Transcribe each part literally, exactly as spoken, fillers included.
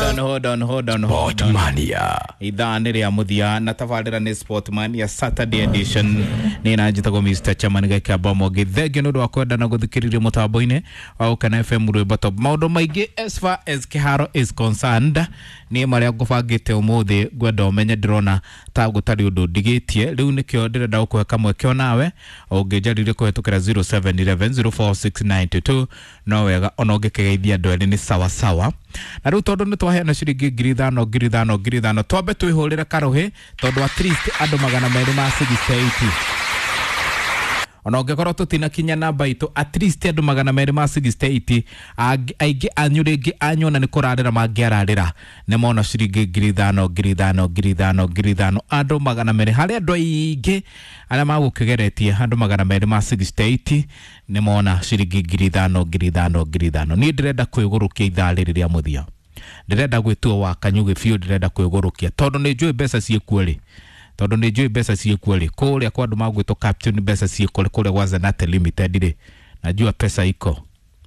on, hold on, hold on, hold on. Sportmania. Ithaa nĩ rĩa mũthia na tabarĩra nĩ Sportmania Saturday edition. Nĩ na njĩtagwo Mister Chairman Gĩkĩamba Mwangi. Thengiũ nĩ ũndũ wa kwenda na gũthikĩrĩria mũtambo-inĩ wa Gũkena F M Rwĩmbo Top. Maũndũ maingĩ as far as kĩharo is concerned nĩ marĩa ngũbangĩte ũmũthĩ, ngwenda ũmenye ndĩrona ta gũtarĩ ũndũ ndigĩtie. Rĩu nĩkĩo ndĩrenda gũkũhe kamweke onawe ũngĩnjarĩria kũhetũkĩra zero seven eleven zero four six nine two two, no wega ona ũngĩkĩgeithia andũ erĩ nĩ sawa sawa. Na rĩu tondũ nĩ twaheana ciringi ngiri ithano ngiri ithano ngiri ithano, twambe twĩhũrĩre karũhĩ tondũ at least andũ magana merĩ ma sixty eight, ona ũngĩkorwo tũtinakinya namba itũ, at least andũ magana merĩ ma sixty eight, aingĩ anyu rĩngĩ anyona nĩ kũrarĩra mangĩararĩra nĩ mona ciringi ngiri ithano ngiri ithano ngiri ithano ngiri ithano, andũ magana merĩ harĩ andũ aingĩ arĩa magũkĩgeretie, andũ magana merĩ ma sixty eight nĩ mona ciringi ngiri ithano ngiri ithano ngiri ithano. Niĩ ndĩrenda kwĩgũrũkia ithaa rĩrĩ rĩa mũthia, ndĩrenda gwĩtua wa kanyugĩ biũ, ndĩrenda kwĩgũrũkia tondũ nĩ njũĩ mbeca ciĩkuo rĩ, tondũ nĩ njũĩ mbeca ciĩkuo rĩ, kũrĩa kwa andũ magwĩtwo Captain mbeca ciĩkuo rĩ, kũrĩa gwa Zanate Limited rĩ, najua pesa iko.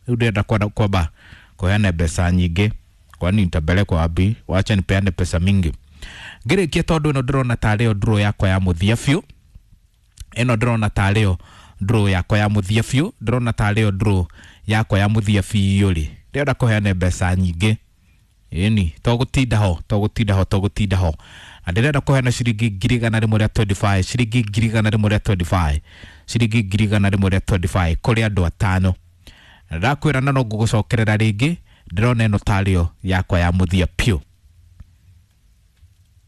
Rĩu ndĩrenda kwamba kũheana mbeca nyingĩ, kwani nitapelekwa wapi? Wacha nipeane pesa mingi. Ngĩrĩkia tondũ ĩno ndĩrona tarĩ yo draw yakwa ya mũthia biũ, ĩno ndĩrona tarĩ yo draw yakwa ya mũthia biũ, ndĩrona tarĩ yo draw yakwa ya mũthia biũ rĩ, ndĩrenda kũheana mbeca nyingĩ. Ĩni tũgũtinda ho, tũgũtinda ho, tũgũtinda ho. Na ndĩrenda kũheana ciringi ngiri igana rĩmwe rĩa twenty five, ciringi ngiri igana rĩmwe rĩa twenty five, ciringi ngiri igana rĩmwe rĩa twenty five kũrĩ andũ atano. Na ndakwĩra na no ngũgũcokerera rĩngĩ, ndĩrona ĩno tarĩ yo yakwa ya mũthia biũ.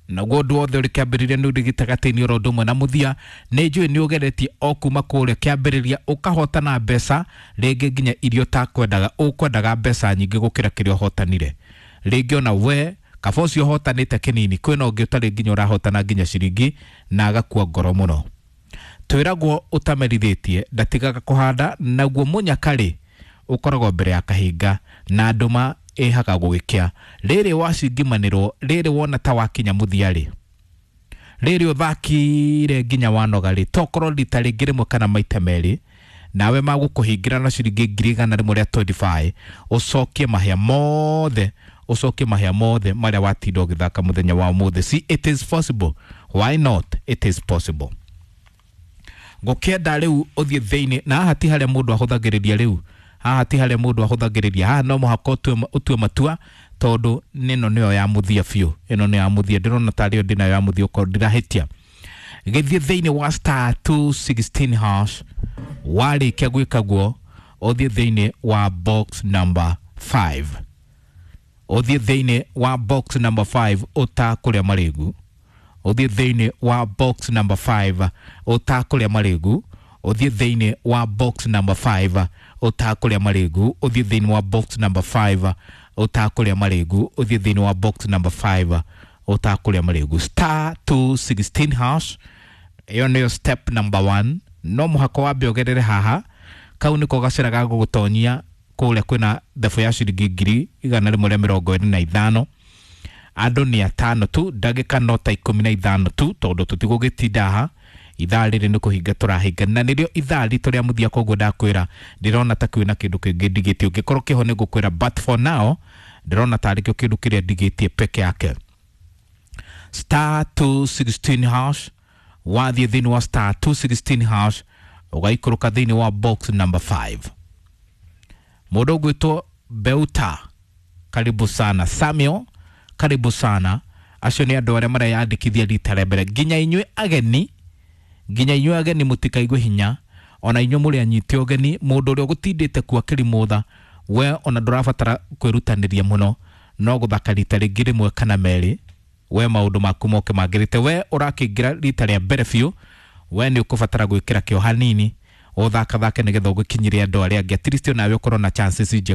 Naguo ũndũ wothe ũrĩ kĩambĩrĩria nĩ ũrĩ gĩtagatĩ-inĩ oro ũndũ ũmwe na mũthia, nĩ njũĩ nĩ ũgeretie o kuma kũrĩa kĩambĩrĩria ũkahotana mbeca rĩngĩ nginya iria ũtakwendaga, ũkwendaga mbeca nyingĩ gũkĩra kĩrĩa ũhotanire. Rĩngĩ ona we kaba ũcio ũhotanĩte kĩnini, kwĩna ũngĩ ũtarĩ nginya ũrahotana nginya ciringi na agakua ngoro mũno. Twĩragwo ũtamerithĩtie ndatigaga kũhanda, naguo mũnyakarĩ ũkoragwo mbere ya kahinga na ndũma ĩhaga gũgĩkĩa. Rĩrĩ wacingimanĩrwo, rĩrĩ wona ta wakinya mũthia rĩ, rĩrĩ ũthakire nginya wanoga rĩ, tokorwo rita rĩngĩ rĩmwe kana maita merĩ, nawe magũkũhingĩra na ciringi ngiri igana rĩmwe rĩa twenty five, ũcokie mahĩa mothe, ũcokie mahĩa mothe marĩa watinda ũgĩthaka mũthenya wa ũmũthĩ. See, it is possible. Why not? It is possible. Ngũkĩenda rĩu ũthiĩ thĩinĩ, na haha ti harĩa mũndũ ahũthagĩrĩria rĩu, haha ti harĩa mũndũ ahũthagĩrĩria, haha no mũhaka ũtue, ũtue matua, tondũ ĩno nĩyo ya mũthia biũ, ĩno nĩyo ya mũthia, ndĩrona tarĩ yo ndĩnayo ya mũthia okorwo ndirahĩtia. Gĩthiĩ thĩinĩ wa star two sixteen hash, warĩkia gwĩka guo ũthiĩ thĩinĩ wa box number five, ũthiĩ thĩinĩ wa box number five ũtakũrĩa marĩgu, ũthiĩ thĩinĩ wa box number five ũtakũrĩa marĩgu, ũthiĩ thĩinĩ wa box number five ũtakũrĩa marĩgu, ũthiĩ thĩinĩ wa box number five ũtakũrĩa marĩgu, ũthiĩ thĩinĩ wa box number five ũtakũrĩa marĩgu. Star two sixteen hash, ĩyo nĩyo step number one. No mũhaka wambe ũgerere haha, kau nĩko gacĩra ga gũgũtonyia kũrĩa kwĩna thabu ya ciringi ngiri igana rĩmwe rĩa mĩrongo ĩrĩ na ithano. Andũ nĩ atano tu, ndagĩka no ta ikũmi na ithano tu, tondũ tũtigũgĩtinda haha. Ithaa rĩrĩ nĩ kũhinga tũrahinga, na nĩrĩo ithaa ritũ rĩa mũthia, koguo ndakwĩra ndĩrona ta kwĩna kĩndũ kĩngĩ ndigĩtie, ũngĩkorwo kĩho nĩ ngũkwĩra, but for now ndĩrona tarĩ kĩo kĩndũ kĩrĩa ndigĩtie peke yake. Star two sixteen hash, wathiĩ thĩinĩ wa star two sixteen hash ũgaikũrũka thĩinĩ wa box number five. Mũndũ ũgwĩtwo Beuta, karibu sana. Samuel, karibu sana. Acio nĩ andũ arĩa mareyandĩkithia rita rĩa mbere. Nginya inyuĩ ageni, nginya inyuĩ ageni mũtikaigue hinya, ona inyuĩ mũrĩ anyite ũgeni, mũndũ ũrĩa ũgũtindĩte kuo akĩrimũtha, we ona ndũrabatara kwĩrutanĩria mũno, no gũthaka rita rĩngĩ rĩmwe kana merĩ, we maũndũ maku moke magĩrĩte. We ũrakĩingĩra rita rĩa mbere biũ, we nĩ ũkũbatara gwĩkĩra kĩo hanini, ũthakathake nĩgetha ũgĩkinyĩre andũ arĩa angĩ, at least onawe ũkorwo na chances njega.